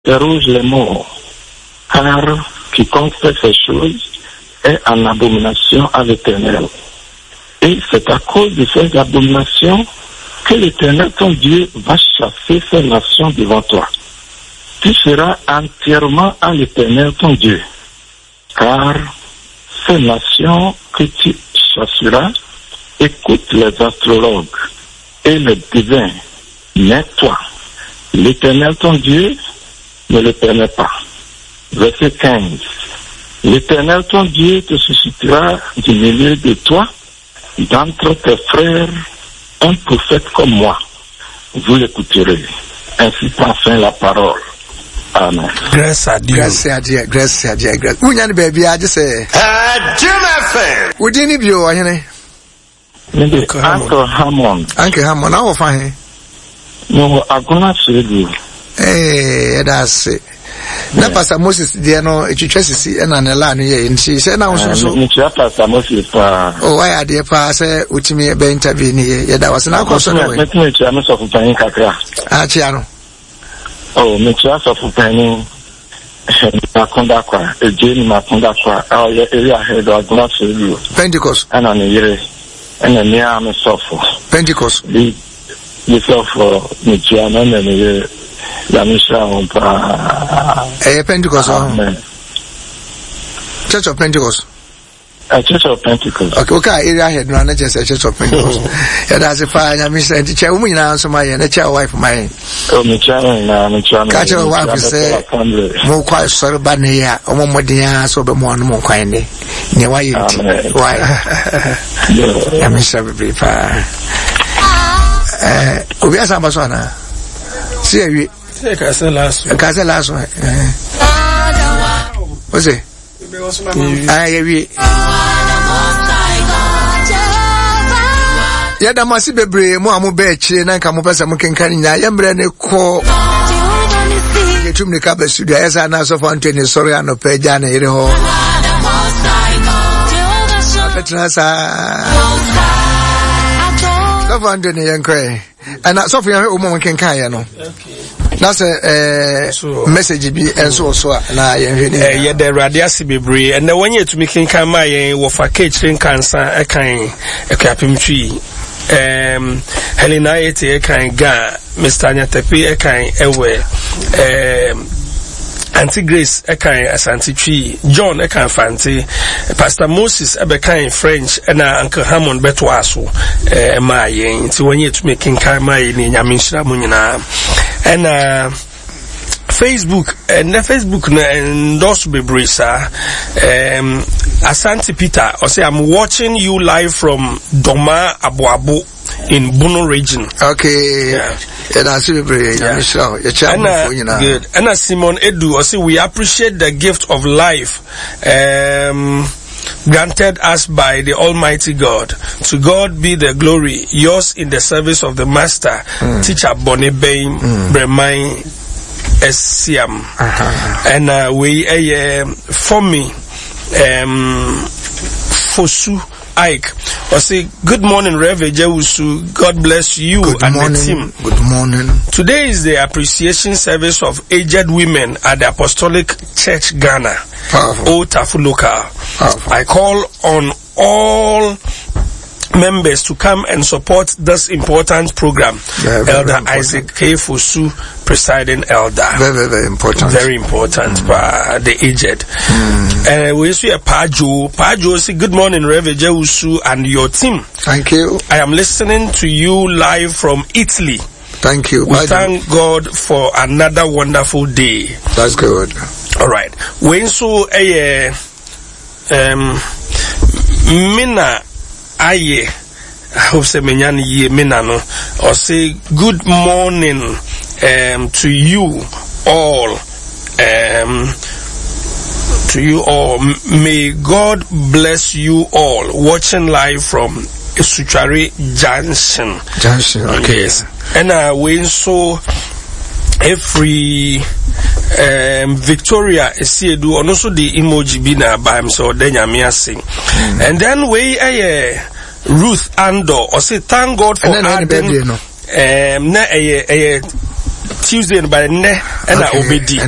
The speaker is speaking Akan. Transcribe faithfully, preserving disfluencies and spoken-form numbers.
Interroge les morts, car quiconque fait ces choses est en abomination à l'Éternel. Et c'est à cause de ces abominations que l'Éternel ton Dieu va chasser ces nations devant toi. Tu seras entièrement à l'Éternel ton Dieu, car ces nations que tu chasseras écoutent les astrologues et les devins, mais toi, l'Éternel ton Dieu, ne le permet pas. Verset quinze. L'Éternel ton Dieu te suscitera du milieu de toi, d'entre tes frères, un prophète comme moi. Vous l'écouterez. Ainsi prend fin la parole. Amen. Grâce à Dieu. Grâce à Dieu. Grâce à Dieu. Grâce. Wunya ne baabi agye sɛ. Jim F M. Wodin ne bio ɔhene. Mede Uncle Hammond. Uncle Hammond, na wɔfa he? Mewɔ Agona Suedu. Ee, ɛda ase. Na Pastor Moses deɛ no etwitwa sisi ɛna ne laa no yɛ nti sɛ na nso so. Mekyia Pastor Moses paa. O wayɛ adeɛ paa sɛ wotumi bɛ interview ne yɛ yɛda wase na akɔ so no wɛ. Mɛtumi akyia me sɔfo panyin kakra. Akyia no. O mekyia sɔfo panyin Makonda kwa Egye ni Makonda kwa a ɔyɛ area head Agona Suedu. Pentecost. Ɛna ne yere ɛna mmea me sɔfo. Pentecost. Bi sɔfo mekyia no ɛna ne yere. Nyame nhyira wɔn paa. Ɛyɛ Pentecost ɔho. Amen. Church of Pentecost. Uh, Church of Pentecost. Okay, okay, area head no na kyerɛ sɛ Church of Pentecost. Yɛda ase paa Nyame nhyira nti kyɛ wo mu nyinaa nso ma yɛn na kyɛ wo wife ma yɛn. Oh, mekyia no nyinaa, mekyia no. Ka kyerɛ wo wife sɛ mokɔ asɔre ba ne yɛ a ɔmɔ mmɔden ara sɛ ɔbɛmo ano mo nkwan ne nea wayɛ nti. Why? Nyame nhyira bebree paa. Eh, obi asan ba so anaa? Si awie. Ka sɛ last one. Ka sɛ last one. O se? Ah, yɛwie. Yɛda mo ase bebree mo a mobɛ akyire na nka mopɛ sɛ mokenka no nyinaa yɛmmerɛ ne kɔ yɛtu mmirika ba studio ayɛ sɛ na asɔfo Antony sɔre anɔpɛ agya ne yere hɔ abɛtena saa sɔfo Antony yɛnkɔɛ ɛna sɔfo yɛhwɛ wɔn a wɔkenkan yɛ no na sɛ ɛɛ message bi nso wɔ so a na yɛnhwɛ ne nyinaa. Yɛda Awurade ase bebree ɛnɛ wɔn yɛ tumi kenkan maa yɛn wɔfa keekyire nkansa ɛkan Akuapem Twi um, Helena Ayete ɛkan Ga, Mister Nyatepe ɛkan Ɛwɛ, um, Auntie Grace ɛkan Asante Twi, John ɛkan Fante, Pastor Moses ɛbɛkan French ɛna Uncle Hammond bɛtoa so ɛmaa yɛn nti wɔn yɛ tumi kenkan maa yɛn ne Nyame nhyira mo nyinaa. Ɛna Facebook ɛnɛ Facebook no ɛndɔso bebree saa. Um, Asante Peter ɔsɛ I'm watching you live from Doma Aboabo in Bono region. Okay. Yeah. Ɛna ase bebree Nyame nhyira wo. Yɛkyɛ abofo nyinaa. Good. Ɛna Simon Edu ɔsɛ we appreciate the gift of life um, granted us by the Almighty God. To God be the glory. Yours in the service of the Master, mm. Teacher Bonnie Bain, mm. Bremai Esiam. Uh-huh. And uh, we uh, for me, um, Fosu Ike. I say, good morning, Rev Ejewusu. God bless you good and morning, the team. Good morning. Today is the appreciation service of aged women at the Apostolic Church Ghana, Powerful. Old Tafu Local. Powerful. I call on all members to come and support this important program. Yeah, very, Elder very important. Isaac K. Fosu, presiding elder. Very, very, very important. Very important mm. for the aged. Mm. Uh, we see a Pajo. Pajo say, good morning, Rev Ejewusu and your team. Thank you. I am listening to you live from Italy. Thank you. We Bye, thank God for another wonderful day. That's good. All right. We so eh um Mina Aye. I hope say menya ye mina no. Or say good morning um to you all. Um to you all. May God bless you all. Watching live from Suchari Junction. Junction, okay. Yes. And uh, we so every um, Victoria Esiedu and also the emoji bi na by himself then Nyame And then we eh Ruth Andor or say thank God for and adding no. um na eh eh Tuesday no, but nnɛ ɛna obedi.